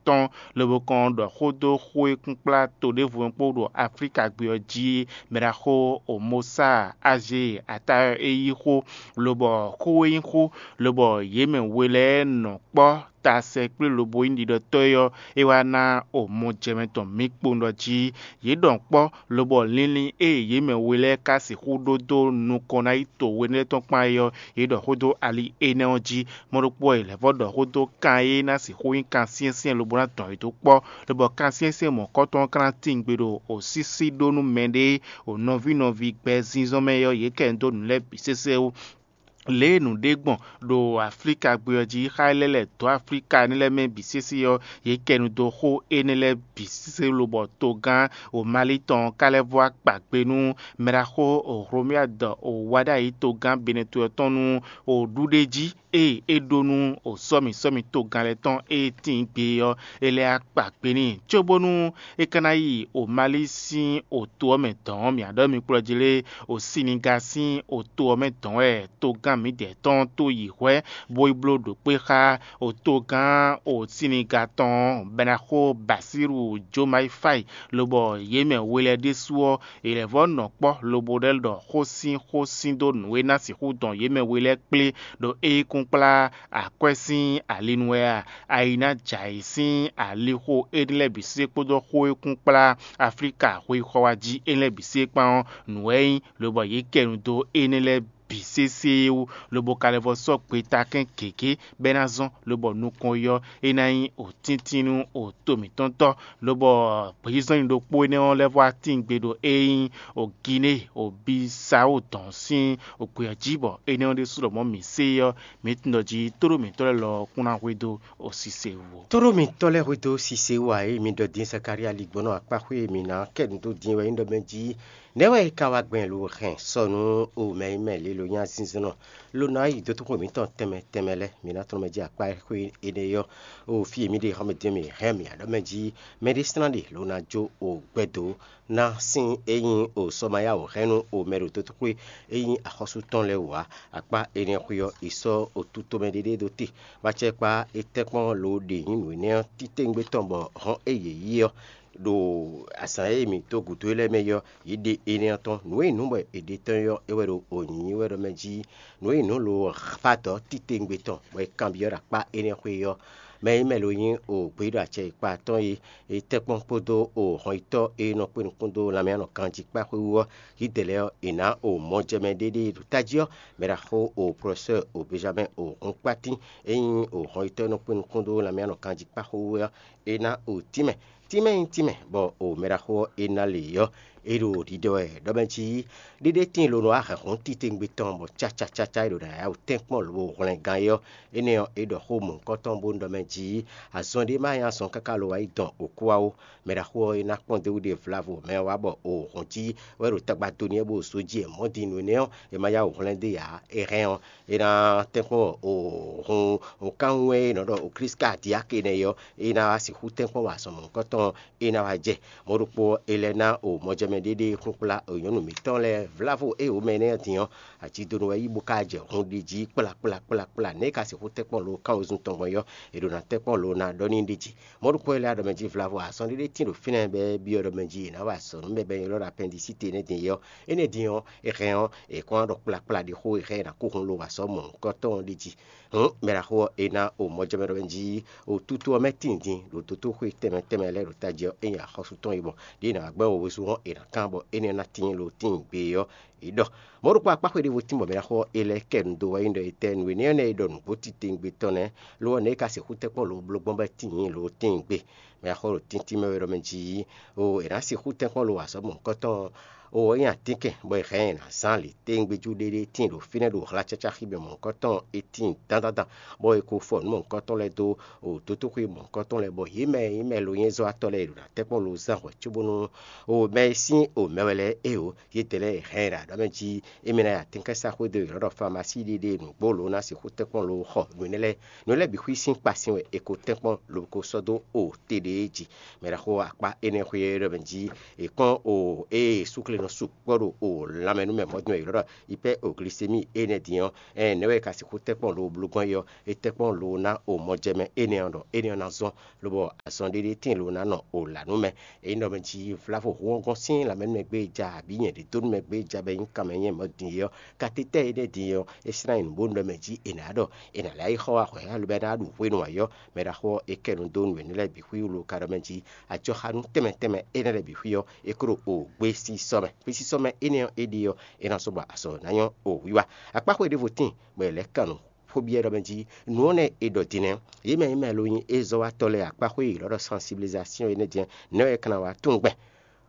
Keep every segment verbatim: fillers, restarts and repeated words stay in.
tɔn, lobo kɔn ɖɔ xó dó xó e kúnkplá to ɖěvo kpó ɖo Aflíka gbé ɔ́ jí. Mɛ ɖaxó Omosa Azée Atayɔ é yí xó, lobɔ xó e nyí xó, lobɔ yě mɛ we lɛ́ɛ nɔ kpɔ́ ta sɛkplé lobo nyí ɖiɖɔtɔ́ é ɔ́, é wá ná omɔjɛmɛ tɔn mǐ kpowun ɖɔ jí. Yě ɖɔ kpɔ́, lobɔ linlin e yě mɛ we lɛ́ɛ ka sixú ɖó dó nukɔn ná yi to we lɛ́ɛ tɔn kpán é ɔ́, yě ɖɔ xó dó ali énɛ́ ɔ́ jí. Mɔ̌ ɖokpó ɔ́, è lɛ̌ vɔ́ ɖɔ xó dó kan e ná sixú nyí kan syɛ́nsyɛ́n lobo ná dɔn yě dó kpɔ́, lobɔ kan syɛ́nsyɛ́n mɔ̌kɔtɔn ɔ́ ka ná tíin gbe ɖo osísí ɖó nú mɛɖée o nɔví nɔví gbɛ zínzɔ́n mɛ ɔ́, yě kɛ dó nǔ lɛ́ɛ bǐ sésé wú. Lě e nǔ ɖe gbɔn ɖo Aflíka gbé ɔ́ jí, xá lɛ́ lɛ̌ dó Aflíka énɛ́ lɛ́ɛ mɛ bǐ sésé ɔ́, yě kɛ nu dó xó énɛ́ lɛ́ɛ bǐ sésé lobɔ togán o Mali tɔn ɔ́ ka lɛ́ vɔ́ akpǎ gbe nú mɛɖaxó o Hlomyad o wá ɖ'ayǐ togán Benɛto ɔ́ tɔn nú o ɖuɖéjí e é ɖó nú o sɔ́mi sɔ́mi togán lɛ́ɛ tɔn e tíin gbe ɔ́, é lɛ́ akpǎ gbe n'i, cóbónú é ka ná yi o Mali sín o to ɔ́ mɛ dɔ̌n ɔ́, mǐ ɖɔ mi kplɔ́ jí lé, o Siniga sín o to ɔ́ mɛ dɔ̌n wɛ togán mǐdɛɛ tɔn tó yi hwɛ̌, bó yi bló ɖo kpé xá o togán o Siniga tɔn ɔ́, bɔ ná xo Basiru Jomayi Fayi, lobɔ yě mɛ we lɛ́ɛ ɖésú ɔ́, è lɛ̌ vɔ́ nɔ kpɔ́ lobo ɖɔ xó sín xó sín dó nǔ e ná sixú dɔn yě mɛ we lɛ́ɛ kplé ɖo é yi kún kplá akwɛ́ sín ali nu wɛ a? Ayi ná jɛ ayǐ sín alixo énɛ́ lɛ́ɛ bǐ sé kpódó xó e kún kplá Aflíka hwexɔ wá jí énɛ́ lɛ́ɛ bǐ sé kpán ɔ́, nǔ wɛ é nyí, lobɔ yě kɛ nu dó énɛ́ lɛ́ɛ bǐ sésé wú, lobo ka lɛ́ vɔ́ sɔ́ gbeta kɛ́n gěgé bɔ é ná zɔ́n, lobɔ nukɔn yi ɔ́, é ná nyí òtíntín nú òto mǐtɔn tɔ́, lobɔ gbězɔ́nyi ɖokpó énɛ́ ɔ́ lɛ́ vɔ́ atín gbe ɖo é nyí o Ginée o Bisawo dɔn sín o gbě ɔ́ jí, bɔ énɛ́ ɔ́ ɖésú lɔmɔ̌ mǐ se ɔ́, mǐ tunwun ɖɔ jí tóɖó mǐtɔn lɛ́ɛ lɔ kún ná hwedó o sise wú ó. Tóɖó mǐtɔn lɛ́ɛ hwedó sise wú ǎ, é mi ɖɔ dín Zakalía ligbɔnɔ akpáxwé e mǐ ná kɛ nǔ dó din wɛ nyí ɖɔ mɛ jí nɛ̌ wɛ é ka wá gbɛn lo hɛn sɔ nú o mɛ e mɛ lě lo nyí azinzɔnnɔ, lo ná yi dó tóxo mǐtɔn tɛnmɛ tɛnmɛ lɛ́ɛ, mǐ ná tlɔ́n mɛ jí akpá xwé énɛ́ ɔ́, o fí e mǐ ɖe xɔ́mɛ dín mǐ hɛn mǐ ǎ ɖɔ mɛ jí mɛɖé slán ɖe lo ná jó o gbɛ́ dó ná sín e nyí o sɔmayáwǔ hɛn nú o mɛ ɖo dó tóxwé e nyí axɔ́sú tɔn lɛ́ɛ wú ǎ. Akpá énɛ́ xwé ɔ́, è sɔ́ o tutomɛ ɖéɖé ɖó te, bó acɛ kpá é tɛ́nkpɔ́n lo ɖe nyí nǔ énɛ́ ɔ́ títewungbe tɔn bɔ hɔn e yě yí ɔ́, ɖo azǎn e mǐ dó gǔdo é lɛ́ɛ mɛ é ɔ́, yě ɖe énɛ́ ɔ́ tɔn. Nǔ e nyí nǔ bɔ è ɖe tɔn é ɔ́, é wɛ ɖo o nyǐnyí wɛ ɖɔ mɛ jí. Nǔ e nyí nǔ lo xá dɔ̌ títewungbe tɔn, bɔ è kanbyɔ́ ɖo akpá énɛ́ xwé ɔ́, mɛ e mɛ lo nyí o gbeyíɖɔ acɛ e kpa tɔn é, é tɛ́nkpɔ́n kpódó o hɔnyitɔ́ e nɔ kpé nukún dó lanmɛ nɔ ganjí kpá xwé wú ɔ́, yědɛɛ lɛ́ɛ ɔ́, è nǎ o mɔjɛmɛ ɖéɖé ɖo tají ɔ́, mɛ ɖaxó o Professeur o Benjamin o Hunkpatín e nyí o hɔnyitɔ́ e nɔ kpé nukún dó lanmɛ nɔ ganjí kpá xwé wú ɔ́, é ná o tínmɛ. Tínmɛ nyí tínmɛ, bɔ o mɛ ɖaxó ɔ́ é ná lě ɔ́, é ɖo ɖiɖɔ wɛ ɖɔ mɛ jí ɖéɖé tíin lo nɔ wá hɛn hǔn titewungbe tɔn bɔ cácácácá é ɖo ná yá wǔ tɛ́nkpɔ́n lobo hwlɛngán é ɔ́, énɛ́ ɔ́, é ɖɔ xó mɔ̌hunkɔtɔn bó ɖɔ mɛ jí azɔn ɖé má nyí azɔn káká lo wá yi dɔn òkú wá ó. Mɛ ɖaxó ɔ́ é ná kpɔ́n dó ɖe vlavo mɛ ɔ́ wá bɔ o hɔn jí wɛ ɖo tagba dó n'i wɛ bó zó jí ɛ mɔ̌ din nǔ énɛ́ ɔ́, è ma yá wǔ hwlɛ́n dó ǎ. É hɛn ɔ́, é ná tɛ́nkpɔ́n o hun kánwun e è nɔ ɖɔ o Klísu ka Diáke nɛ́ é ɔ́, é ná wá sixú tɛ́nkpɔ́n wa azɔn mɔ̌hunkɔtɔn ɔ́, é ná wá jɛ. Mɔ̌ ɖokpó ɔ́, é lɛ́ ná o mɔjɛmɛ ɖéɖé kúnkplá o nyɔ̌nu mǐtɔn lɛ́ɛ vlávo e wǒ mɛ énɛ́ ɔ́ din ɔ́, ajídonu wɛ yí bó ka jɛ hun ɖi jí kplakplakplakpla nɛ̌ é ka sixú tɛ́nkpɔ́n lo kán wezun tɔn gbɔn é ɔ́, è ɖǒ ná tɛ́nkpɔ́n lo ná ɖɔ n'i ɖi jí. Mɔ̌ ɖokpó ɔ́, é lɛ́ wá ɖɔ mɛ jí vlávo azɔn ɖéɖé tíin ɖo fínɛ́ bɔ é byɔ́ ɖɔ mɛ jí è nǎ wa azɔ̌ nú mɛ bɔ è nɔ ylɔ́ ɖɔ apɛndisíti énɛ́ din é ɔ́, énɛ́ din ɔ́, è hɛn ɔ́, è kɔn wá ɖɔ kplakpla ɖi xó è hɛn è nǎ kó hun lo wa azɔ̌ mɔ̌hunkɔtɔn ɔ́ ɖi jí. Hǔn mɛ ɖaxó ɔ́, è ná o mɔjɛmɛ ɖɔ mɛ jí o tútú ɔ́ mɛ tíin din ɖo dotóxwé tɛnmɛ tɛnmɛ lɛ́ɛ ɖo tají ɔ́, é nyí axɔ́sú tɔn e gbɔn ɖě è nǎ gbɛ́ wǒwezú hɔn è nǎ kán bɔ énɛ́ ná tíin lo tíin gbe é ɔ́, è ɖɔ. Mɔ̌ ɖokpó akpáxwé ɖěvo tín bɔ mɛ ɖaxó ɔ́, è lɛ́ kɛ nu dó wɛ nyí ɖɔ è tɛ́ nǔ énɛ́ ɔ́ nɛ́ è ɖɔ nǔgbó titewungbe tɔn nɛ́, lo ɔ́, nɛ̌ è ka sixú tɛ́nkpɔ́n lo bló gbɔn bɔ é tíin lo tíin gbe. Mɛ ɖaxó ɖo tíntín mɛ wɛ ɖɔ mɛ jí, o è nǎ sixú tɛ́nkpɔ́n lo wa azɔ̌ mɔ̌hunkɔtɔn ɔ́, o ɔ́ nyí atínkɛn, bɔ è hɛn ɛ nǎ zán lě tɛ́ngbéjú ɖéɖé tíin ɖo fínɛ́ ɖo hlacácá xi mɛ mɔ̌hunkɔtɔn ɔ́, é tíin dandandan, bɔ è ko fɔ nǔ mɔ̌hunkɔtɔn lɛ́ɛ dó o dǒtoxwé mɔ̌hunkɔtɔn lɛ́ɛ, bɔ yě mɛ e nyí mɛ lo nyɛ́zɔ́watɔ́ lɛ́ɛ è ɖo ná tɛ́nkpɔ́n lo zán hwɛ̌ cóbónú o mɛ e sín o mɛ wɛ lɛ́ɛ é o, yědɛɛ lɛ́ɛ è hɛn ɛ ɖo aɖɔ̌ mɛ jí émí ná yi atínkɛ́nsaxwé dó è nɔ ɖɔ famasí ɖiɖe nǔgbó lo ná sixú tɛ́nkpɔ́n lo xɔ nǔ énɛ́ lɛ́ɛ. Nǔ lɛ́ɛ bǐ xwí sín kpa sin wɛ è ko tɛ́nkpɔ́n lobo ko sɔ́ dó o te ɖé jí. Mɛ ɖaxó akpá énɛ́ xwé ɔ́ ɖɔ mɛ jí è kpɔ́n o ée súkle nɔ sukpɔ́ ɖo o lanmɛ nú mɛ mɔ̌ din wɛ è ylɔ́ ɖɔ hyperglycémie énɛ́ din ɔ́, ɛn nɛ̌ wɛ è ka sixú tɛ́nkpɔ́n lo bló gbɔn é ɔ́? É tɛ́nkpɔ́n lo ná o mɔjɛmɛ énɛ́ ɔ́ ɖɔ énɛ́ ɔ́ ná zɔ́n, lobɔ azɔn ɖéɖé tíin lo ná nɔ o lǎ nú mɛ. Ényí ɖɔ mɛ jí vlavo hú ɔ́ gɔ́n sín lanmɛ nú mɛ gbé e ja abǐ nyɛ ɖě dó nú mɛ gbé e ja bɔ é nyí kanmɛ nyɛ mɔ̌ din é ɔ́, katetɛ́ énɛ́ din ɔ́, é slán nyi nǔ bó nú ɖɔ mɛ jí è nǎ ɖɔ è nǎ lɛ́ yi xɔ wá hwɛ̌ alo bɔ é ná ɖu hwenu ayɔ́. Mɛ ɖaxó ɔ́, é kɛ nǔ dó nǔ énɛ́ lɛ́ɛ bǐ xwí wú lo ka ɖɔ mɛ jí ajɔxanú tɛnmɛ tɛnmɛ énɛ́ lɛ́ɛ bǐ xwí ɔ́, é kó ɖo o gbé sísɔ́ mɛ. Gbésísɔ́ mɛ énɛ́ ɔ́, é ɖe ɔ́, é ná sɔ́ bɔ azɔ̌ ná nyɔ́ o wiwa. Akpáxwé ɖěvo tíin bɔ è lɛ̌ kan nǔ xó byɔ́ ɖɔ mɛ jí nǔ ɔ́ nɛ́ è ɖɔ din nɛ́. Yě mɛ e mɛ lo nyí ézɔ́watɔ́ lɛ́ɛ akpáxwé e è ylɔ́ ɖɔ sensibilisation énɛ́ din nɛ́ wɛ é ka ná wá tunwun gbɛn.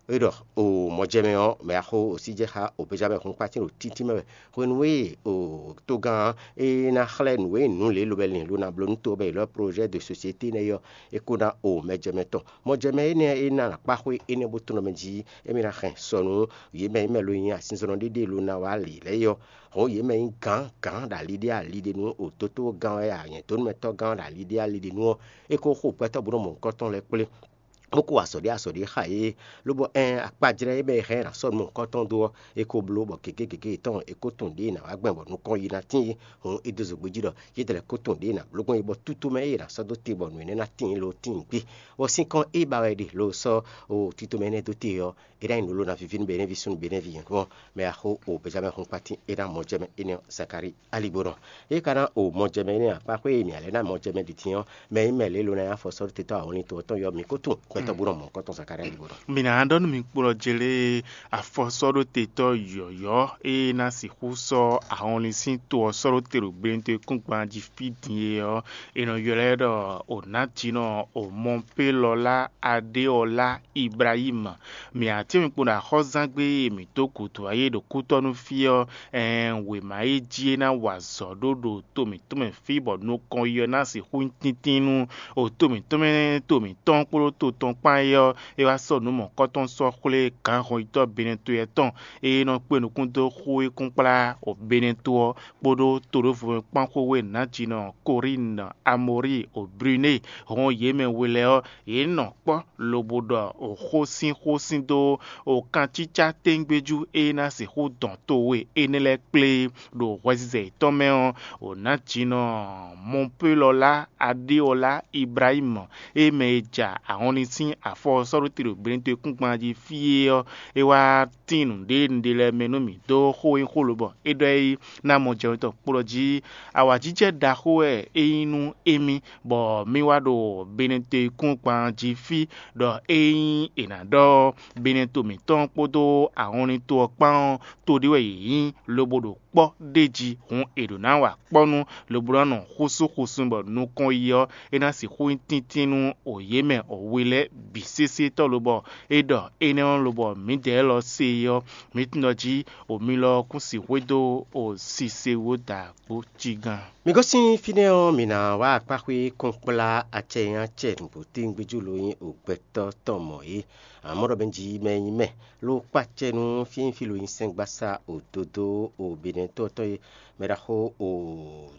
É ɖɔ o mɔjɛmɛ ɔ́, mɛ axó o sí jɛ xá o Benjamin hun kpátín ɖo títí mɛ wɛ. Hwenu e o togán ɔ́, é ná xlɛ́ nǔ e nǔ lě lobɛ lin lo ná bló nú to ɔ́ bɔ è ylɔ́ projet de société nɛ́ ɔ́, é kó ná o mɛjɛmɛ tɔn. Mɔjɛmɛ énɛ́ e ná akpáxwé énɛ́ bó tunɔ mɛ jí émí ná hɛn sɔ nú yě mɛ e mɛ lo nyi azinzɔnnɔ ɖéɖé lo ná wá lǐ lɛ́ɛ é ɔ́, hɔn yě mɛ nyí gǎn gǎn ɖo ali ɖé ali ɖé nú o dótógán wɛ a nyɛ̌dónúmɛtɔ́gán ɖo ali ɖé ali ɖé nú ɔ́, é ko xo gbɛtɔ́ bó nɔ mɔ nukɔn tɔn lɛ́ɛ kplé, bó ko wa azɔ̌ ɖé azɔ̌ ɖé xa yě, lobɔ ɛn akpajlɛ́ e mɛ e hɛn ɛ ná sɔ́ nú mɔ̌hunkɔtɔn dó ɔ́, é ko bló bɔ gěgé gěgé yětɔn é ko tunwun ɖěe è nǎ wá gbɛn bɔ nukɔn yi ná tíin, hǔn é dó zǒgbé jí ɖɔ yědɛɛ lɛ́ɛ ko tunwun ɖěe è nǎ bló gbɔn é, bɔ tútú mɛ e è nǎ sɔ́ dó te bɔ nǔ énɛ́ ná tíin lo tíin gbé. Bɔ sín kɔn e ba wɛ è ɖe lo sɔ́ o tito mɛ énɛ́ dó te ɔ́, é ná nyí nǔ ló ná víví nú Benɛ́ví súnnu Benɛ́ví nyɔ̌nu ɔ́, mɛ axó o Benjamɛ́n hun kpatín é ná mɔ jɛ mɛ énɛ́ ɔ́, Zakalíi alígbó nɔ. É ka ná o mɔ jɛ mɛ énɛ́ ǎ, kpáxwé e mǐ ǎ lɛ́ɛ ná mɔ jɛ mɛ ɖi din ɔ́, mɛ e nyí mɛ lě lo ná nyí afɔsɔ́ɖótetɔ́ awɔnlin to ɔ́ tɔn yɔ mǐ ko tunwun gbɛtɔ́ bó nɔ mɔ nukɔn tɔn Zakalíi alígbó nɔ. Mǐ ná ɖɔ nú mi kplɔ́ jlé afɔsɔ́ɖótetɔ́ yɔ̌yɔ́ e ná sixú sɔ́ ahɔnlin sín to ɔ́ sɔ́ ɖó te ɖo gbɛɖinto e kún gban jí fí din é ɔ́, è nɔ ylɔ́ ɛ ɖɔ Onǎjínɔ Omɔpélɔlá Aɖéɔlá Ibrahímu. Mǐ ǎ tín mi kpo ɖo axɔ́zángbé e mǐ dó gǔdo ǎ é ɖo kútɔ́nú fí ɔ́, ɛɛn wěma e jí é ná wa azɔ̌ ɖó ɖo to mǐtɔn mɛ fí bɔ nukɔn yi ɔ́ ná sixú nyí tíntín nú o to mǐtɔn mɛ to mǐtɔn kpódó to tɔn kpán é ɔ́, é wá sɔ́ nǔ mɔ̌kɔ́tɔn sɔ́ xwlé gǎnhɔnyitɔ́ Benɛto lɛ́ɛ tɔn e nɔ kpé nukún dó xú é kún kplá o Benɛto ɔ́ kpódó to ɖěvo mɛ kpán xwé nǎjínɔ Korínu, Amɔríi, o Brunéi, hɔn yě mɛ we lɛ́ɛ ɔ́, yě nɔ kpɔ́ lobo ɖɔ o xó sín xó sín dó o kancícá téngbéjú e ná sixú dɔn towe énɛ́ lɛ́ɛ kplé ɖo hwɛzizɛ yětɔn mɛ ɔ́, o nǎjínɔ Mɔpélɔlá Aɖéɔlá Ibrahímu e mɛ e ja ahɔnlin sín afɔ ɔ́ sɔ́ ɖó te ɖo Benɛto e kún gban jí fí é ɔ́, é wá tín nǔɖé nǔɖé lɛ́ɛ mɛ nú mì dó xó e nyí xó lobɔ é ɖɔ é ná mɔ jɛwɛn tɔn kpo ɖɔ jí. Awǎjijɛ ɖaxó wɛ é nyí nú émí, bɔ mì wá ɖo Benɛto e kún gban jí fí ɖɔ ényí è nǎ ɖɔ Benɛto mǐtɔn kpódó ahɔnlin to ɔ́ kpán ɔ́, to ɖé wɛ yě nyí, lobo ɖo kpɔ́ ɖ'é jí, hǔn è ɖǒ ná wa kpɔ́ nú lobo ná nɔ xúsúxúsú bɔ nukɔn yi ɔ́, é ná sixú nyí tíntín nú o yě mɛ o we lɛ́ɛ bǐ sésé tɔ́ lobɔ é ɖɔ énɛ́ ɔ́ lobɔ mǐdɛɛ lɔ se é ɔ́, mǐ tunwun ɖɔ jí o mi lɔ ɔ́ kún sixú dó o sise wó da kpó cí gán. Mi gosín fínɛ́ ɔ́, mǐ ná wá akpáxwé kɔn kplá acɛ e nyí acɛ nǔgbó téwúngbéjú lo nyí o gbɛtɔ́ tɔn mɔ̌ é. Amɔ̌ ɖɔ mɛ jí mɛ e nyí mɛ ló kpó acɛ nú fínfín lo nyí sɛ́ngbásá o dodó o Benɛtɔ́ tɔn e mɛ ɖaxó o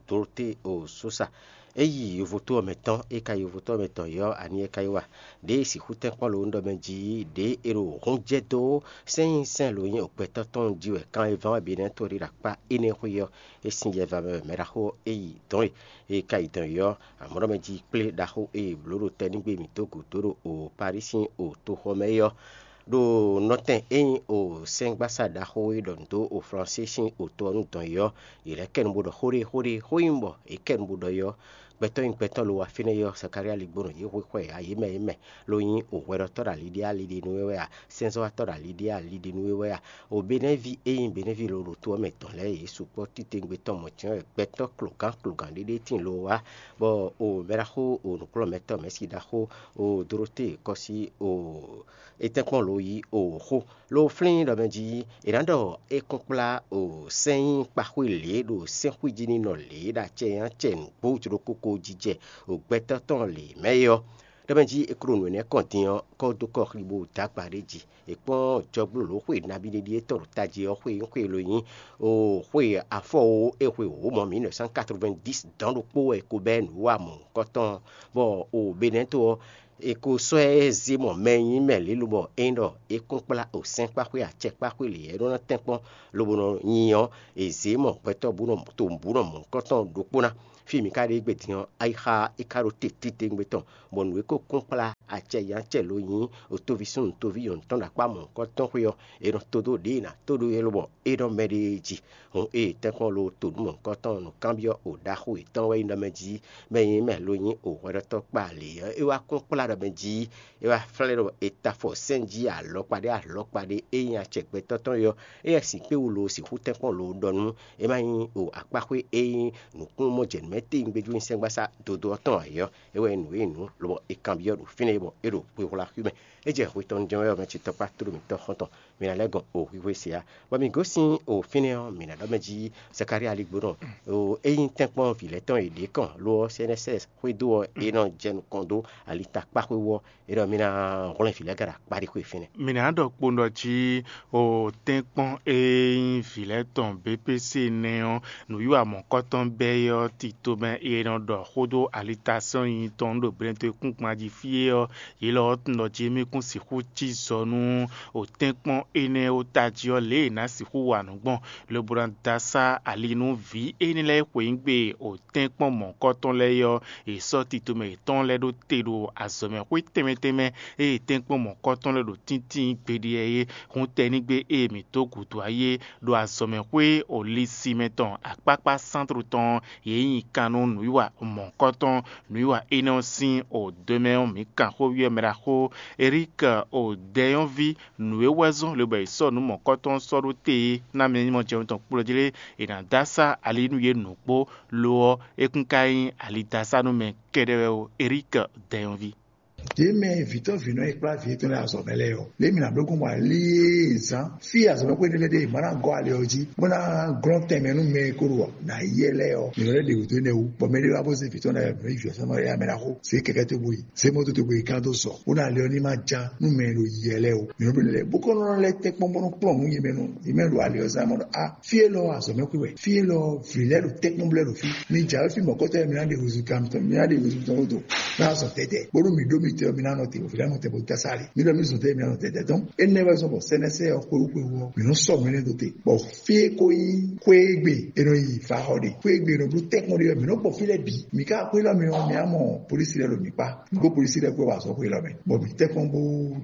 Doroté o Sosa. É yi yovoto ɔ́ mɛ tɔn, é ka yi yovoto ɔ́ mɛ tɔn yɔ́ ani é ka yi wa. Ɖěe sixú tɛ́nkpɔ́n lo ɖɔ mɛ jí ɖě è ɖo hún jɛ dó sɛ́n e nyí sɛ́n lo nyí o gbɛtɔ́ tɔn jí wɛ kan e ván wɛ Benɛtɔ́ ɖe ɖo akpá énɛ́ xwé ɔ́, é sín yɛ vamɛ wɛ mɛ ɖaxó ɔ́ é yi dɔn e. E ka yi dɔn yi ɔ́, amɔ̌ ɖɔ mɛ jí kplé ɖaxó e è blǒ ɖo tɛnígbe mǐtɔn gǔdo ɖo o Parísi sín o toxɔ mɛ é ɔ́, ɖo nɔtɛn e nyí o sɛ́ngbásá ɖaxó e ɖɔ nǔ dó o Flansée sín o to ɔ́ nú dɔn yi ɔ́, yě lɛ́ kɛ nu bó ɖɔ xó ɖé xó ɖé xó nyí bɔ yě kɛ nu bó ɖɔ yi ɔ́, gbɛtɔ́ nyí gbɛtɔ́ lo wá fínɛ́ yi ɔ́, Sakalía ligbónɔ yě xwé xwɛ ǎ, yě mɛ yě mɛ ló nyí o hwɛɖɔtɔ́ ɖo ali ɖé ali ɖé nú é wɛ a, sɛ́nzɔ́watɔ́ ɖo ali ɖé ali ɖé nú é wɛ a, o Benɛ́ví e nyí Benɛ́ví lo ɖo to ɔ́ mɛ tɔn lɛ́ɛ yě sukpɔ́ titewungbe tɔn mɔ̌ jɛ́n wɛ gbɛtɔ́ klogán klogán ɖé ɖé tíin lo wá, bɔ o mɛ ɖaxó o nǔkplɔ́nmɛtɔ́ mɛ̌si ɖaxó o Doroté kɔsí o étɛ́nkpɔ́n lo yí o xó lo flín ɖɔ mɛ jí è nǎ ɖɔ é kún kplá o sɛ́n nyí kpaxwé lě ɖo sɛ́nxwíjínínɔ lě ɖo acɛ nyí acɛ nǔgbó jló kókó jijɛ o gbɛtɔ́ tɔn lě mɛ é ɔ́. Ɖɔ mɛ jí è klo nǔ énɛ́ kɔn din ɔ́, kɔ́ dó kɔ xli bó dó agba ɖé jí. È kpɔ́n jɔgbólǒ xwe nabí ɖé ɖíe tɔn ɖo tají ɔ́ xwe nyí xwe lo nyí o xwe afɔ o é xwe wǒ mɔ mǐ nɛ̌ sán katrovɛ́ndísi dɔ̌n ɖokpó wɛ è ko bɛ́ nǔ wa mɔ̌hunkɔtɔn, bɔ o Benɛ́to ɔ́, È ko sɔ́ ɛ zé mɔ mɛ e nyí mɛ lě lobɔ é nyí ɖɔ é kún kplá osɛ́nkpáxwé acɛkpáxwé lě e é nɔ ná tɛ́nkpɔ́n lobo nɔ nyi ɔ́, è zě mɔ gbɛtɔ́ bǔ nɔ to bǔ nɔ mɔ̌hunkɔtɔn ɖokpó ná. Fí e mǐ ka ɖe égbé din ɔ́, ayixa é ka ɖo te titewungbe tɔn, bɔ nǔ e ko kún kplá acɛ nyí acɛ lo nyí otoví súnnu toví nyɔ̌nu tɔn ɖo akpá mɔ̌hunkɔtɔn xwé ɔ́, è nɔ to dó ɖěe è nǎ to ɖó é lobɔ é nɔ mɛ ɖée jí. Hǔn ée tɛ́nkpɔ́n lo to nǔ mɔ̌hunkɔtɔn nǔkanbyɔ́ o ɖaxó yětɔn wɛ nyí ɖɔ mɛ jí, mɛ e nyí mɛ lo nyí o hwɛɖɔtɔ́ kpa lě ɔ́, é wá kún kplá ɖɔ mɛ jí, é wá flɛ́ ɖɔ è ta afɔ sɛ́n jí alɔkpa ɖé alɔkpa ɖé e nyí acɛ gbɛtɔ́ tɔn é ɔ́, éyɛ́ sǐkpéwu lo sixú tɛ́nkpɔ́n lo ɖɔ nú é má nyí o akpáxwé e nyí nǔkúnnú mɔ jɛ nǔ mɛ téwungbe jú nyi sɛ́ngbásá dodó ɔ́ tɔn ǎ é ɔ́, é wɛ nyí nǔ e nyí nǔ, lobɔ è kanbyɔ́ ɖo fínɛ́ bɔ é ɖo xwexwlá xwí mɛ. É jɛ hwe tɔn jɛ́n wɛ ɔ́ mɛ ce tɔkpá tlóló mǐtɔn xɔ́ntɔn, mi ná lɛ́ gɔn o hwíhwé se ǎ. Bɔ mǐ gosín o fínɛ́ ɔ́, mǐ ná ɖɔ mɛ jí Zakalía ligbónɔ o é nyí tɛ́nkpɔ́n vǐ lɛ́ɛ tɔn e ɖě kɔn lo ɔ́, sɛ́nɛsɛ́ xwedó ɔ́, é nɔ jɛ nukɔn dó ali ta kpáxwé wú ɔ́, é ɖɔ mì ná hwlɛ́n vǐ lɛ́ɛ gǎn ɖo akpáɖixwé fínɛ́. Mǐ ná ɖɔ kpowun ɖɔ jí o tɛ́nkpɔ́n e nyí vǐ lɛ́ɛ tɔn B P C nɛ́ ɔ́, nǔwiwa mɔ̌kɔtɔn bɛ́ é ɔ́, tito mɛ e nɔ ɖɔ xó dó alitasɔ́ nyinyi tɔn ɖo Blɛ́nto e kún gban jí fí é ɔ́, yě lɔ ɔ́ tunwun ɖɔ jí émí kún sixú cí zɔ nú o tɛ́nkpɔ́n énɛ́ ó tají ɔ́ lě e è nǎ sixú wa nǔ gbɔn, lobo ná dó asá ali nú vǐ énɛ́ lɛ́ɛ e xweyǐgbe o tɛ́nkpɔ́n mɔ̌kɔtɔn lɛ́ɛ é ɔ́, è sɔ́ tito mɛ yětɔn lɛ́ɛ ɖó te ɖo azɔ̌mɛxwé tɛnmɛ tɛnmɛ e tɛ́nkpɔ́n mɔ̌kɔtɔn lɛ́ɛ ɖo tíntín gbeɖé ɛ é. Hun tɛnígbe e mǐ dó gǔdo ayé ɖo azɔ̌mɛxwé Olisimɛ tɔn akpákpá sántló tɔn ɔ́, yě nyi kan nú nǔwiwa mɔ̌kɔtɔn. Nǔwiwa énɛ́ ɔ́ sín odǒ mɛ ɔ́, mǐ kan xóví ɔ́ mɛ ɖaxó Erík odɛ́nyɔ́ví nǔ e wɛ zɔ́n lobɔ è sɔ́ nǔ mɔ̌kɔtɔn ɔ́ sɔ́ ɖó te é ná mɛ nyí mɔ jɛwun tɔn kplɔ́ jí lé, è nǎ dó asá ali nú yě nǔgbó, lo ɔ́, é kún ka nyí alidasá nú mɛ kɛ́ɖɛ́ wɛ ó. Erík dɛnyɔ́ví. Yě mɛ vǐtɔ́ vǐnɔ e kplá vǐ yětɔn lɛ́ɛ azɔ̌ mɛ lɛ́ɛ ɔ́, lě mi nǎ bló gbɔn ali e zán fí azɔ̌ mɛ xwé ɖé lɛ́ɛ ɖe, è ma ná gɔ́ ali ɔ́ jí, bó ná glɔ́n tɛnmɛ nú mɛ e ko ɖo nǎ yi ɛ lɛ́ɛ ɔ́. Mǐ nɔ lɛ́ ɖe wǔ dó énɛ́ wú, bɔ mɛɖé wá bó zé vǐ tɔn lɛ́ɛ mǐ nɔ yi vǐ ɔ́ sɛ́n mɛ ɖaxó, zě kɛkɛ́ togbó yi, zě mɔ̌ togbó yi gán dó sɔ, bó ná ali ɔ́ ní ma já nú mɛ e ɖo yi ɛ lɛ́ɛ ó. Mǐ nɔ bló lɛ́ɛ bó kɔ́ nɔ lɛ́ tɛ́nkpɔ́n bó nɔ kplɔ́n nǔ yi mɛ nɔ yi mɛ ɖo ali ɔ́ zán mɔ ɖɔ a fí élɔ́ azɔ̌ mɛ xwé wɛ, fí élɔ́ vǐ lɛ́ɛ ɖo tɛ́nkpɔ́n blɛ́ ɖo fí. Mi jǎwe fí mɔ̌kɔtɔn e mi ná ɖe húzú kan mitɔn, mi ná ɖe húzú mitɔn ɖó do, ná zɔ tɛtɛ, bónú mi ɖó mitɔn mi ná nɔ te, vǐ lɛ́ɛ nɔ te bó dá sá ali. Mi ɖɔ mi zɔ tɛtɛ mi ná nɔ tɛtɛ. Donc énɛ́ wɛ zɔ́n bɔ sɛ́nɛsɛ ɔ́ xwewú xwewú ɔ́, mi nɔ sɔ mɛ nɛ́ dó te. Bɔ fí e ko nyí xwé e gbe è nɔ yi faxɔ ɖe, xwé e gbe è nɔ bló tɛ́nkpɔ́n ɖe ɔ́, mi nɔ gbɔ fí lɛ́ɛ bǐ. Mi ka xwé lɔ mi ɔ́, mi á mɔ polísi lɛ́ɛ ɖo mi kpá. Gbó polísi lɛ́ɛ kpó wá zɔ xwé lɔ mɛ, bɔ mi tɛ́nkpɔ́n bó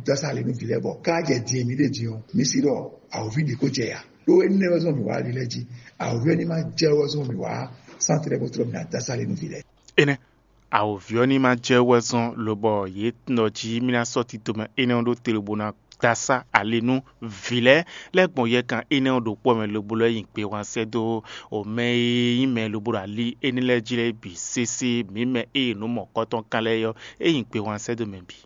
dá sá ali nú vǐ lɛ́ɛ bɔ ká jɛ din e mi ɖe din ɔ́, mi sí ɖɔ awǒvi ɖě ko jɛ ya. Ɖó énɛ́ wɛ zɔ́n mǐ wá ali lɛ́ɛ jí. Awǒvi ɔ́ ní ma jɛ wɛ zɔ́n mǐ wá sántrɛ bó tlɔ́ mǐ ná dá sá ali nú vǐ lɛ́ɛ. Énɛ́, awǒvi ɔ́ ní ma jɛ wɛ zɔ́n lobɔ yě nɔ jí mì ná sɔ́ tito mɛ énɛ́ ɔ́ ɖó te lobo ná dó asá ali nú vǐ lɛ́ɛ lɛ́ɛ gbɔn yɛkan énɛ́ ɔ́ ɖokpó mɛ lobo lɛ́ nyi gbe wǎn sɛ́ dó o mɛ e nyí mɛ lobo ɖo ali énɛ́ lɛ́ɛ jí lɛ́ɛ bǐ sésé. Mǐ mɛ e nǔ mɔ̌kɔtɔn kan lɛ́ɛ ɔ́, é nyi gbe wǎn sɛ́ dó mɛ bǐ.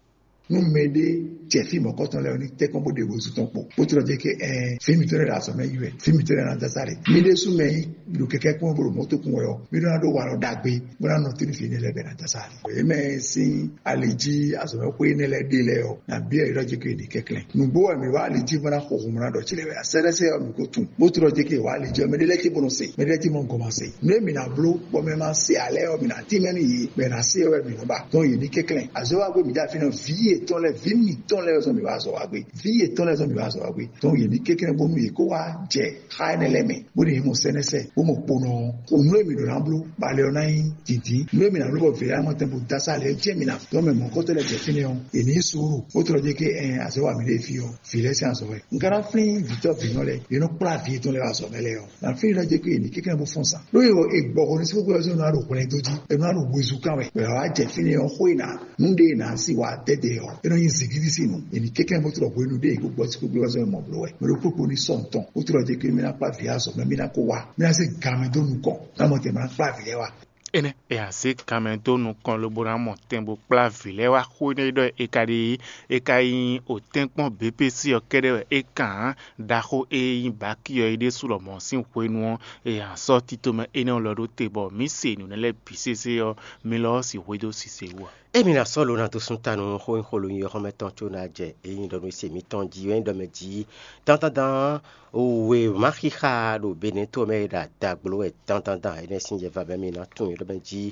Nú mɛɖé jɛ fí mɔ̌kɔtɔn lɛ́ɛ ɔ́, ní tɛ́nkpɔ́n bó ɖe wezun tɔn kpo, bó tlɔ́ jɛ kɛ ɛɛ fí mǐtɔn lɛ́ɛ ɖo azɔ̌ mɛ yi wɛ, fí mǐtɔn lɛ́ɛ ná dó asá ɖe. Mí ɖésú mɛ e ɖo kɛkɛ́ kpɔ́n bó ɖo mɔ̌ tó kún wɛ ɔ́, mí ɖó ná ɖó walɔ ɖagbe, bó ná nɔ tínú fí énɛ́ lɛ́ɛ bɔ è nǎ dó asá ɖe. Yě mɛ e sín ali jí azɔ̌mɛxwé énɛ́ lɛ́ɛ ɖe lɛ́ɛ ɔ́, nǎ byɔ́ yě ɖɔ jɛ kó è ɖe kɛnklɛ́n. Nǔgbó wɛ mǐ wá ali jí bó ná xo hǔn bó ná ɖɔ cí lɛ́ɛ wɛ a? Sɛ́ɖɛ́sɛ́ ɔ́, mǐ ko tunwun, bó tlɔ́ jɛ kó è wá ali jí ɔ́, mɛɖé lɛ́ɛ cí bó nɔ se, mɛɖé lɛ́ɛ cí mɔ gɔ́n ma se. Nǔ e mǐ ná bló bɔ mɛ ma se ǎ lɛ́ɛ ɔ́, mǐ ná tínmɛ nú yě, bɔ è nǎ se ɔ́ wɛ mǐ nɔ ba. Dɔn yě ní kɛnklɛ́n. Azɔ̌ wa gbé mǐ dó afi nɔ, vǐ yětɔn lɛ́ɛ, vǐ mǐtɔn lɛ́ɛ zɔn mǐ wá azɔ̌ wa gbé. Vǐ yětɔn lɛ́ɛ zɔn mǐ wá azɔ̌ wa gbé. Dɔn yě ní kɛnklɛ́n bónú yě kó wá jɛ xá énɛ́ lɛ́ɛ mɛ, bó ní mɔ sɛ́nɛsɛ, bó mɔ kponɔ ɔ́. Xo nǔ e mǐ ɖǒ ná bló, ba lɛ ɔ́ ná nyí dǐndín. Nǔ e mǐ ná bló bɔ vǐ lɛ́ɛ ná mɔ tɛn bó dó asá lɛ́ɛ jɛ mǐ ná. Dɔn mɛ mɔ̌kɔtɔ́ lɛ́ɛ jɛ fínɛ́ ɔ́, è nǐ suúlu, bó tlɔ́ jɛ kɛ ɛn azɔ̌ wa mǐ ɖe fí ɔ́, vǐ lɛ́ɛ sín azɔ̌ wɛ. Un ka ná flín vǐtɔ́ vǐnɔ lɛ́ɛ, yě nɔ kplá vǐ yětɔn lɛ́ɛ wá azɔ̌ mɛ lɛ́ɛ ɔ́. Ná flín ɖɔ jɛ kó è nǐ kɛnklɛ́n bó fɔ́n zan. Ɖó è gbɔ xo ní sí kókó ɔ́ ná ɖo hwlɛ́n dó jí, è nɔ ɖo wezun kan wɛ. Bɔ è wá jɛ fínɛ́ ɔ́, xó e ná nǔ ɖé e nǎ sí wa dɛdɛ ɔ́, é nɔ nyí zǐngídi sín nǔ. È nǐ kɛnklɛ́n bó tlɔ hwenu ɖé è kó gbɔ sí kókó ɔ́ mɔ bló wɛ. Mɛ ɖokpó kpo ní sɔ ntɔn, bó tlɔ jɛ kó mí ná kplá vǐ azɔ̌ mɛ, mí ná kó wá, mí ná zé gan mɛ dó nukɔn, ná mɔ tɛn mɛ ná kplá vǐ lɛ́ɛ wá. Énɛ́ è nǎ zé gan mɛ dó nukɔn lobo ná mɔ tɛn bó kplá vǐ lɛ́ɛ wá xó énɛ́ ɖɔ è ka ɖe é, é ka nyí otɛ́nkpɔ́n B P C ɔ́ kɛ́ɖɛ́ wɛ é kan ǎ. Ɖaxó e nyí Baki ɔ́ é ɖésú lɔmɔ̌ sín hwenu ɔ́, è nǎ sɔ́ tito mɛ énɛ́ ɔ́ lɔ ɖó te bɔ mǐ se nǔ nɛ́ lɛ́ɛ bǐ sésé ɔ́, mi lɔ ɔ́ sixú xwedó sise wú ǎ. Emi ná sɔ́ lo ná dó sún ta nú xó e xó lo nyi ɔ́ xɔ́mɛ tɔn có ná jɛ é nyí ɖɔ nú é se mǐtɔn jí wɛ nyí ɖɔ mɛ jí dandandan wěma xixa ɖo Benɛ́ to ɔ́ mɛ e ɖo adagbló wɛ dandandan énɛ́ sín yɛ va bɔ émi ná tunwun é ɖɔ mɛ jí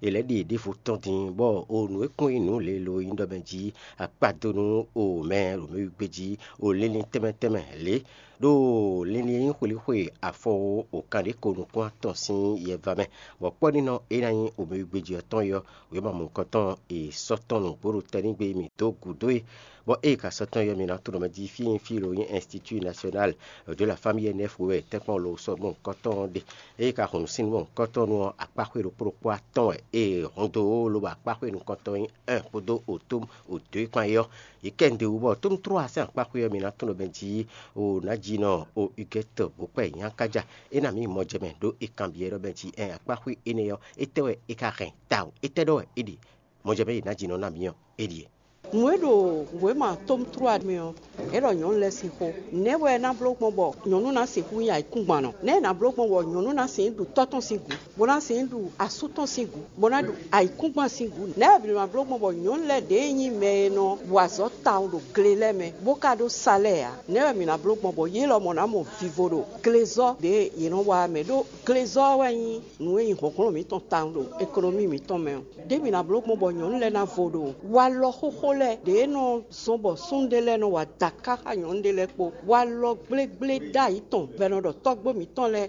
È lɛ́ ɖe ɖěvo tɔn din, bɔ o nǔ e kún nyí nǔ lě lo nyí ɖɔ mɛ jí akpado nú o mɛ ɖo mɛ wígbé jí, o linlin tɛnmɛ tɛnmɛ lě, ɖo linlin e nyí xwelíxwe afɔ o kan ɖě ko nukún atɔn sín yɛva mɛ, bɔ kpɔ́ nínɔ é ná nyí o mɛ wígbé jí ɔ́ tɔn é ɔ́, wěma mɔ̌hunkɔtɔn e sɔ́ tɔn nǔgbó ɖo tɛ́nɖígbe mǐ dó gǔdo e, bɔ ée ka sɔ́ tɔn é ɔ́, mi ná tunwun ɖɔ mɛ jí fí e nyí fí lo nyí Institut National de la Famille N F wɛ tɛ́nkpɔ́n lo sɔ́ gbɔn nǔkɔtɔn ɔ́ ɖe. Ée ka hun nǔ sín nú mɔ̌hunkɔtɔn nu ɔ́, akpáxwé ɖokpó ɖokpó atɔn wɛ è hun dó, lobo akpáxwé nukɔntɔn nyí un kpódó otom odǒ e kpán é ɔ́, yě kɛ nǔɖé wú bɔ tónútló ɔ́ sín akpáxwé ɔ́, mi ná tunwun ɖɔ mɛ jí o nǎjínɔ o Ugɛ́tɔ bó kpɛ nyákájá é ná mǐ mɔ jɛ mɛ ɖó è kanbyɔ́ ɖɔ mɛ jí ɛn akpáxwé énɛ́ ɔ́, étɛ́ wɛ é ka hɛn tawun? Étɛ́ ɖɔ wɛ é ɖe? Mɔ jɛ mɛ yi nǎjínɔ ná mǐ ɔ́, é ɖíe. Nǔ e ɖo wěma tómtrú mɛ ɔ́, é ɖɔ nyɔ̌nu lɛ́ɛ sín xó. Nɛ̌ wɛ é ná bló gbɔn bɔ nyɔ̌nu ná sixú nyí ayǐkúngban nɔ? Nɛ̌ è nǎ bló gbɔn bɔ nyɔ̌nu ná sixú ɖu tɔ́ tɔn sín gǔ, bó ná sixú ɖu asú tɔn sín gǔ, bó ná ɖu ayǐkúngban sín gǔ? Nɛ̌ wɛ mǐ ná bló gbɔn bɔ nyɔ̌nu lɛ́ɛ ɖě nyí mɛ e nɔ wa azɔ̌ tawun ɖo gle lɛ́ɛ mɛ, bó ka ɖó salɛ́ɛ ǎ? Nɛ̌ wɛ mǐ ná bló gbɔn bɔ yě lɔmɔ̌ ná mɔ vivo ɖo glezɔ́ ɖě yě nɔ wa ɔ́ mɛ? Ɖó glezɔ́ ɔ́ wɛ nyí nǔ e nyí hlɔ̌nhlɔ́n mǐtɔn tawun ɖo ekonomí mǐtɔn mɛ ɔ́. Đěbǔ ná bló gbɔn bɔ nyɔ̌nu lɛ́ɛ ná vo ɖo walɔ xóxó lɛ́ɛ ɖě e nɔ zɔ́n bɔ súnnu ɖé lɛ́ɛ nɔ wa dǎká xá nyɔ̌nu ɖé lɛ́ɛ kpó. Walɔ gblégblé ɖ'ayǐ tɔn bɔ è nɔ ɖɔ tɔ́gbó mǐtɔn lɛ́ɛ,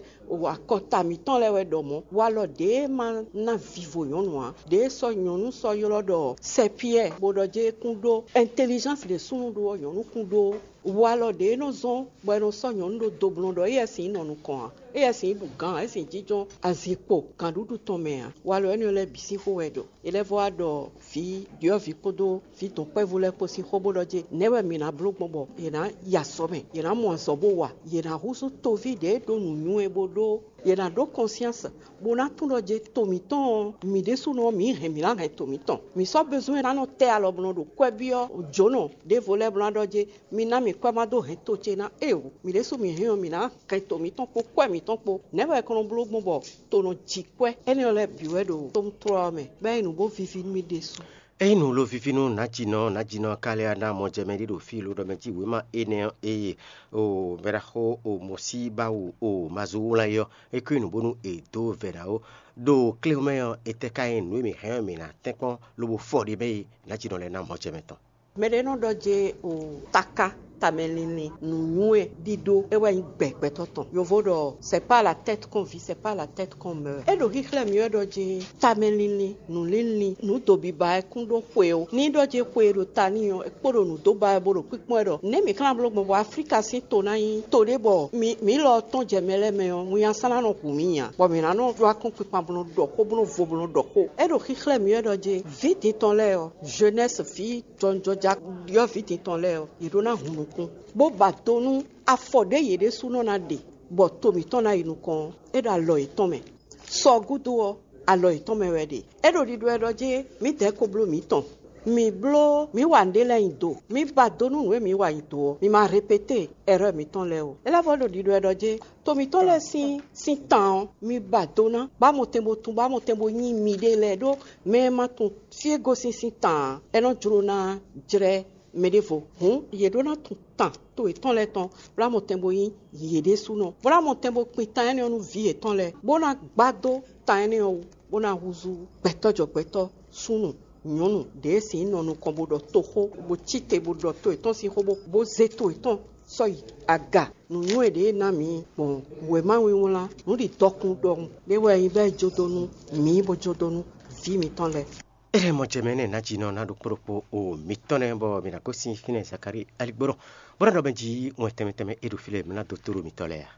akɔta mǐtɔn lɛ́ɛ wɛ ɖɔ mɔ̌. Walɔ ɖě e ma ná vivo nyɔ̌nu ǎ, ɖě e sɔ́ nyɔ̌nu sɔ́ ylɔ́ ɖɔ sɛpyɛ́ɛ, bó ɖɔ jɛ́n é kún ɖó ɛntelizánsi ɖě súnnu ɖó ɔ́, nyɔ̌nu kún ɖó. Walɔ ɖě e nɔ zɔ́n bɔ è nɔ sɔ́ nyɔ̌nu ɖó doblɔ́n ɖɔ éyɛ́ sin nɔ nukɔn ǎ, éyɛ́ sin ɖu gǎn ǎ, é sin jínjɔ́n azinkpo gǎnɖuɖu tɔn mɛ ǎ. Walɔ énɛ́ lɛ́ɛ bǐ sín xó wɛ ɖɔ. É lɛ́ vɔ wá ɖɔ vǐ ɖyɔ̌vǐ kpódó vǐ dɔ̌nkpɛvú lɛ́ɛ kpó sín xó bó ɖɔ jɛ́n nɛ̌ wɛ mǐ ná bló gbɔn bɔ yě ná yi azɔ̌ mɛ, yě ná mɔ azɔ̌ bó wa, yě ná húzú toví ɖě e ɖó nǔnywɛ́ bó ɖó, yě ná ɖó kɔnsyáns, bó ná tunwun ɖɔ jɛ́n to mǐtɔn ɔ́, mǐ ɖésúnɔ ɔ́, mǐ hɛn mǐ ná hɛn to mǐtɔn. Mǐ sɔ́ bezún e ná nɔ tɛ́ alɔ bó nɔ ɖo kwɛ́ byɔ́ jǒnɔ ɖěvo lɛ́ɛ bó ná ɖɔ jɛ́n mi ná mì kwɛ́ má dó hɛn to ce ná. Éeǒ, mǐ ɖésú mǐ hɛn ɔ́, mǐ ná hɛn to mǐtɔn kpó kwɛ́ mǐtɔn kpó. Nɛ̌ wɛ è ko nɔ bló gbɔn bɔ to nɔ ji kwɛ́ énɛ́ ɔ́ lɛ́ɛ bǐ wɛ ɖo tomtrɔ́ ɔ́ mɛ, bɔ é nyí nǔ bó víví nú mì ɖésú? Ényí nǔ lo víví nú nǎjínɔ, nǎjínɔ ɔ́ ka lɛ́ wá ná mɔ jɛ mɛ ɖé ɖo fí lo ɖɔ mɛ jí wěma énɛ́ ɔ́ eye o mɛɖaxó o mɔsíbáwu o mazú wlán é ɔ́, é kú nyi nǔ bónú è dó vɛ̌ ná ó. Ɖo kléwúmɛ ɔ́, etɛ́ ka nyí nǔ e mǐ hɛn ɔ́ mǐ ná tɛ́nkpɔ́n lobo fɔ ɖ'é mɛ e nǎjínɔ lɛ́ɛ ná mɔ jɛ mɛ tɔn? Mɛ ɖé nɔ ɖɔ jɛ́n o taká tamɛlinlin nǔnywɛ́ ɖíɖó é wɛ nyí gbɛ gbɛtɔ́ tɔn. Yovo ɖɔ c'est pas la tête qu'on vit, c'est pas la tête qu'on meurt. É ɖo xíxlɛ́ mì wɛ ɖɔ jɛ́n tamɛlinlin, nǔlinlin, nǔ dobiba wɛ kún ɖó xwe ó. Ní ɖɔ jɛ́n xwe e ɖo ta n'i ɔ́, é kpo ɖo nǔ dó ba wɛ bó ɖo kpínkpɔ́n wɛ ɖɔ nɛ̌ mǐ ka ná bló gbɔn bɔ Aflíka sín to ná nyí to ɖé bɔ mi mǐ lɔ tɔn jɛ mɛ lɛ́ɛ mɛ ɔ́, winnyá sán ná nɔ hu mǐ nya, bɔ mǐ ná nɔ ɖó akɔ́nkpinkpan bó nɔ ɖɔ xó bó nɔ vo bó nɔ ɖɔ xó. É ɖo xíxlɛ́ mì wɛ ɖɔ jɛ́n vǐ din tɔn lɛ́ɛ ɔ́, jeunesse vǐ jɔnjɔja ɖyɔ̌vǐ din tɔn lɛ́ɛ ɔ́, yě ɖó ná hun nukún, bó ba do nú afɔ ɖě yě ɖésúnɔ ná ɖe, bɔ to mǐtɔn ná yi nukɔn ɔ́, é ɖo alɔ yětɔn mɛ. Sɔ gúdo ɔ́, alɔ yětɔn mɛ wɛ ɖe. É ɖo ɖiɖɔ wɛ ɖɔ jɛ́n mǐdɛɛ ko bló mǐtɔn. Mǐ bló mǐ wa nǔɖé lɛ́ɛ nyi do. Mǐ ba do nú nǔ e mǐ wa nyi do ɔ́, mǐ ma répété ɛrɔ́ mǐtɔn lɛ́ɛ ó. É lɛ́ vɔ ɖo ɖiɖɔ wɛ ɖɔ jɛ́n to mǐtɔn lɛ́ɛ sín sín tan ɔ́, mi ba do ná, bó amɔtɛn bo tún, bó amɔtɛn bo nyí miɖée lɛ́ɛ ɖó mɛ e ma tunwun fí e gosín sín tan ǎ, é nɔ jló ná jlɛ́ mɛ ɖěvo. Hǔn yě ɖó ná tunwun tan to yětɔn lɛ́ɛ tɔn, bó amɔtɛn bo nyí yě ɖésúnɔ, bó amɔtɛn bo kpin tan énɛ́ ɔ́ nú vǐ yětɔn lɛ́ɛ, bó ná gbá dó tan énɛ́ ɔ́ wú, bó ná húzú gbɛtɔ́ jɔ gbɛtɔ́, súnnu, nyɔ̌nu ɖě e sin nɔ nukɔn bó ɖɔ toxó, bó cí te bó ɖɔ to yětɔn sín xó, bó bó zé to yětɔn sɔ́ yi aga. Nǔnywɛ́ ɖě e ná mǐ gbɔn wěma wínwlán nǔɖiɖɔkun ɖɔhun ɖé wɛ nyí bɔ é jó dó nú mǐ bó jó dó nú vǐ mǐtɔn lɛ́ɛ. Éɖɛ́ mɔ jɛ mɛ énɛ́ nǎjínɔ ná ɖo kpóɖokpó o mǐtɔn lɛ́ɛ bɔ mǐ ná gosín fínɛ́ Zakalíi aligbɔ́nɔ, bó ná ɖɔ mɛ jí wɛn tɛnmɛ tɛnmɛ e ɖo fí lɛ́ɛ mǐ ná dó tó ɖo mǐtɔn lɛ́ɛ a?